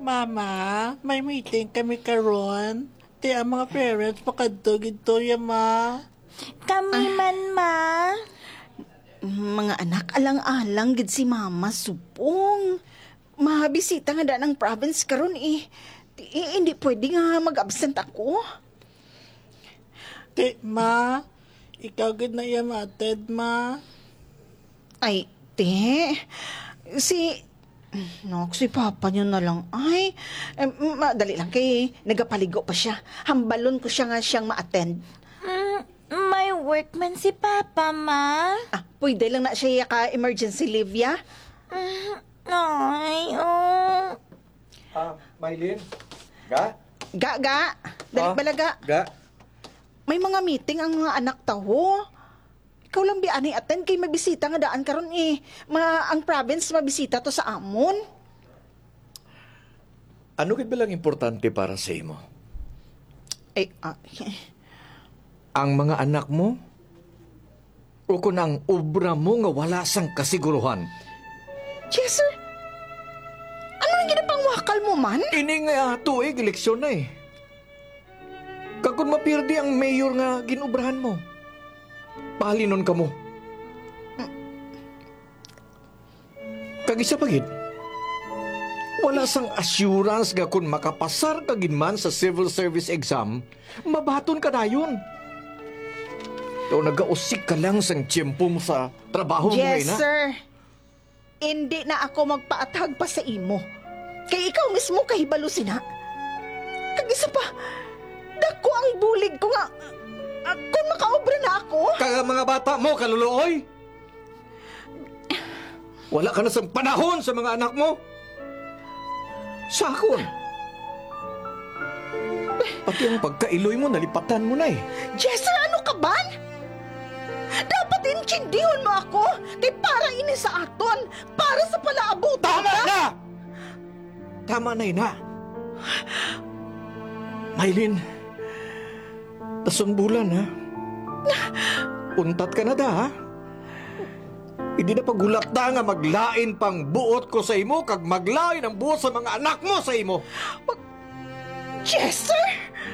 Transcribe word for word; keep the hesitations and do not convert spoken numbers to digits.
Mama, may meeting kami karon. Ti ang mga parents pakadto gid to, ya, ma. Kami man, ma. Mga anak, alang-alang gid si Mama, subong. Mabisita nga daan ang province karon, eh. Ti, eh, hindi pwede nga mag-absent ako. Ti, ma, ikaw gid na iya ma-attend, ma. Ay, ti, si, no, si Papa niya na lang. Ay, em, madali lang kay nagapaligo pa siya. Hambalon ko siya nga siyang ma-attend. Mm, may work man si Papa, ma. Ah, pwede lang na siya ka emergency leave, ya? Mm, ay, oh. Ah, Mylene? Ga? Ga, ga. Dali Ah, bala, ga. Ga? May mga meeting ang mga anak tawo. Ikaw lang bi anay attend kay mabisita nga daan karon, eh. Ma, ang province mabisita to sa amon. Ano gid ba lang importante para sa imo? Eh, ah, Ang mga anak mo? O kon ang obra mo nga wala sang kasiguruhan? Yes, sir. Ano ang ginapangwakal mo man? Ini nga tuig, eleksyon na eh. Kag kon mapirdi ang mayor nga gin-obrahan mo, pahalinon kamo. Kag isa pa gid, wala sang assurance nga kon makapasar ka gid man sa civil service exam, mabaton ka dayon. Daw nagausik ka lang sang tiyempo mo sa trabaho mo, Yes, Reyna. sir. Indi na ako magpaathag pa sa imo. Kay ikaw mismo kahibalo sina. Kag isa pa, dako ang bulig ko nga, ah, kung makaobra na ako. Kag ang mga bata mo, kaluluoy. Wala ka na sang panahon sa mga anak mo. Sa akon. Pati ang pagkailoy mo, nalipatan mo na eh. Jester, ano ka ba? Dapat intindihon mo ako. Kay para ini sa aton. Para sa palaabutan Tama ka. na! Tama na, ina. Mylene, tasungbulan, ha? Untat ka na da, ha? Hindi na paghulat da nga maglain pang buot ko sa imo kag maglain ang buot sa mga anak mo sa imo. Mag-, Jester!